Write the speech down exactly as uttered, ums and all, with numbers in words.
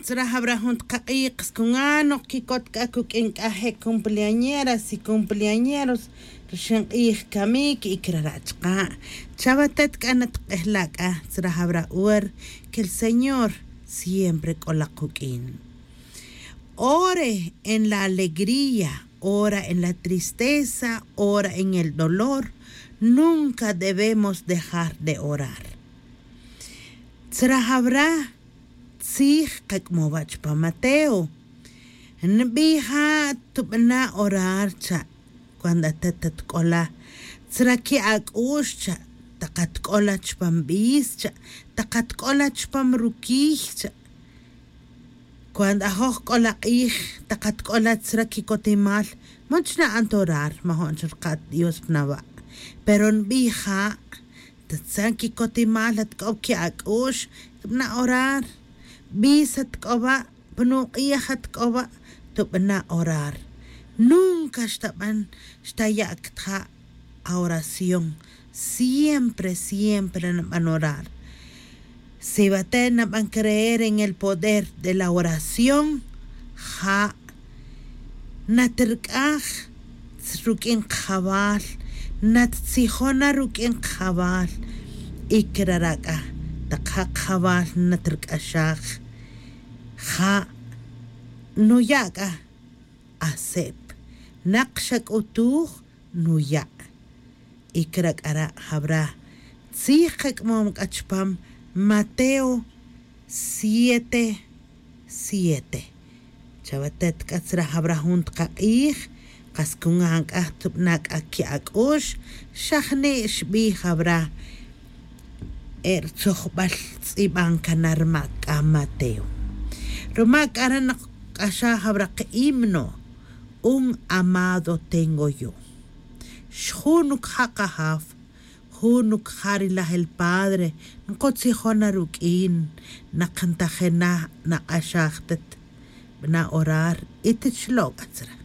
Tzra jawra jun tqaq'ij qas kungan noq kikot k'a kuk'in k'a je' cumpleañeras y cumpleañeros rixin q'ij kamik y kirara' chaqa'. Chawatet k'a natq'ejla' k'a tzra jawra ora que el señor siempre k'ola quk'in. Ore en la alegría, ora en la tristeza, ora en el dolor, nunca debemos dejar de orar. Tzra jawra tzij qak'mowa' chupan mateo. Nbija' tubana' orar cha'. Cuando atet atk'ola tzra ki' ak'u'x cha', tak atk'ola chupam b'is cha', tak atk'ola chupam rukiy cha'. Cuando ajoj k'ola q'ij, tak atk'ola tzra kikotimal, man chana' antorar, majo'n chirka' dios pnawa'. Pero nbija' tatzan kikotimal atk'ob ki' ak'u'x, tubana' orar. B'is atk'oba', pnuk'ij atk'oba', tubana' orar. Nunca xtaban xtaya' ktja' aoración. Siempre siempre naban orar. Si bate' naban creer en el poder de la oración, ja' natrk'aj ruk'in qjawal, nattzijon na ruk'in qjawal. Y kirara' k'a tak ja' qjawal natrk'axaj, ja' nuya' k'a. Asep nak xak'utuj nuya'. Y krak'ara' jawra tzij kak'mom k'a chupam mateo siete siete. Chawatet k'a tzra jawra jun tqaq'ij, qas kungan k'a tubana' k'a ki' ak'u'x. Xa jni' xbij jawra e rtzojb'al tz'ib'an kan rma' k'a mateo. Ruma' k'a re' naqk'axaj jawra qhimno. Un amado tengo yo. Xjun nukja' qajaf, jun nukja' rilaj el padre, nqotzijon na ruk'in, naqntajin na, naq'axaj tet. B'ana' orar y tet xlo' k'a tzra.